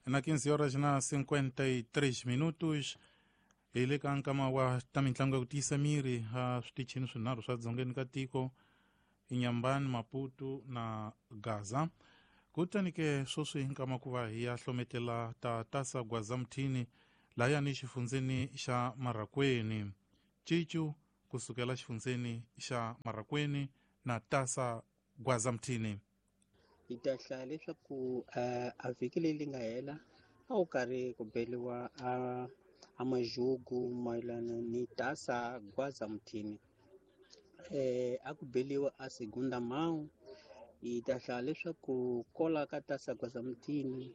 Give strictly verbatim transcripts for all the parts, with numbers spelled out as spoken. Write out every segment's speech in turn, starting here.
Na quinze horas na cinquenta e três minutos hi le ka nkama wa ta mitlangu ya ku tiyisa miri a switichini swinharhu swa dzongeni ka tiko, Inhambane, Maputo na Gaza. Kutani ke sweswi nkama ku va hi ya hlometela ta Taça Gwaza Muthini lahayani xifundzeni xa Marracuene. Cicu kusukela xifundzeni xa Marracuene na Taça Gwaza Muthini. Hi ta hlaya leswaku a vhiki leyi nga hela a wu karhi ku beliwa a a majugu mayelana ni Taça Gwaza Muthini. Eh a ku beliwa a segunda mão. Hi ta hlaya leswaku kola ka Taça Gwaza Muthini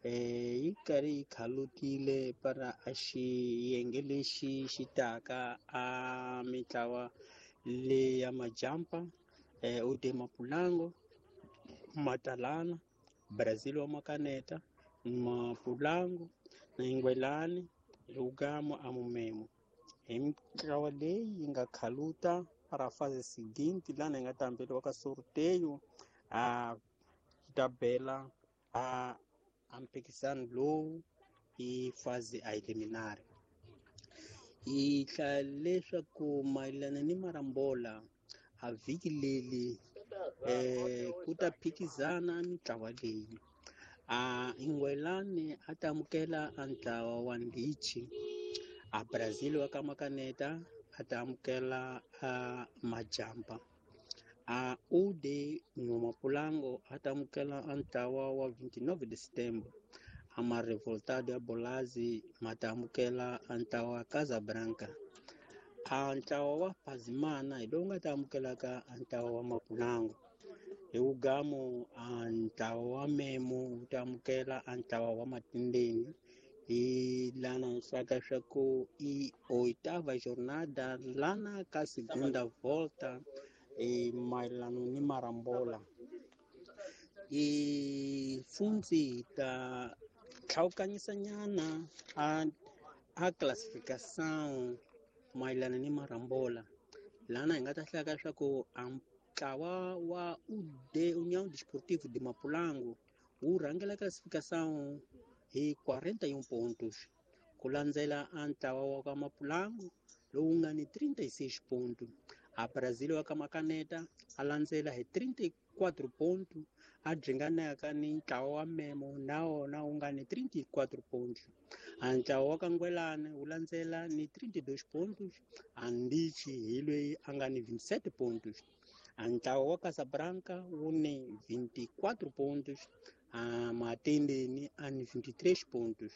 eh yi karhi yi khalutile para a xiyenge lexi xi taka a mitlawa leya majampa eh U D Mapulango, Matalana, Brazil wa Makaneta, Mapulango na Ingwelani, Lugamo Amumemo. Hi mitlawa leyi yi nga khaluta para fase seguinte lana yi nga ta hambeliwa ka sorteio a ta bela a a mphikizano lowu i fase a eliminare. Hi hlaya leswaku mayelana ni marambola a vhiki leri eh ku ta phikizana mitlawa leyi. A Ingwelani a ta amukela a ntlawa wa Ndichi, a Brazil wa ka Makaneta a ta amukela a Majampa, a U D Mapulango a ta amukela a ntlawa wa vinte e nove de setembro, a ma Revoltado ya Bolazi ma ta amukela a ntlawa wa Casablanca, a ntlawa wa Pazimana hi lowu nga ta amukelaka a ntlawa wa Mapulango. Hi wugamo a ntlawa wa Memo wu ta amukela a ntlawa wa Matindeni. Hi lana hlaka swa ku i oitava jornada lana ka segunda volta e mayelana ni marambola. I fundzi ta tlhawukanyisanyana a a classificação mayelana ni marambola. Lana hi nga ta hlaka swa ku a ntlawa wa U D União Desportivo de Mapulango wu rhangela classificação hi quarenta e um pontos, ku landzela a ntlawa wa ka Mapulango lowu nga ni trinta e seis pontos. A Brazil wa ka Makaneta a landzela hi trinta e quatro pontos, a dringanaka ni ntlawa wa Memo na wona wu nga ni trinta e quatro pontos. A ntlawa wa ka Ngwelani wu landzela ni trinta e dois pontos, a Ndichi hi loyi a nga ni vinte e sete pontos. A ntlawa wa Casablanca wu ni vinte e quatro pontos, a Matendeni a ni vinte e três pontos.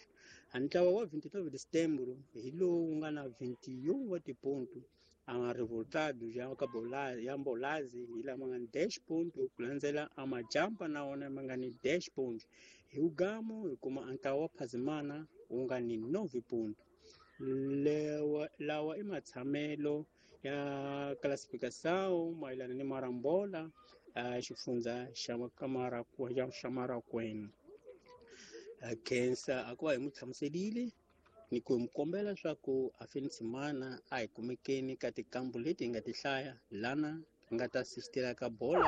A ntlawa wa vinte e nove de setembro hi lowu wu nga na vinte e um wa tiponto. A Revoltado ya ka Bolazi ya Mbolazi hi lama nga ni dez pontos, ku landzela a Majampa na wona ma nga ni dez pontos. Hi wugamo hi kuma a ntlawa wa Phazimana wu nga ni nove pontos. Lewa lawa i matshamelo ya classificação mayelana ni marambola a xifundza xa xa Marracuene. Khensa a ku va hi n'wi hlamuselile ni ku hi mi kombela leswaku a Feniximana a hi kumekeni ka tikambu leti hi nga ti hlaya lana hi nga ta assistela ka bola.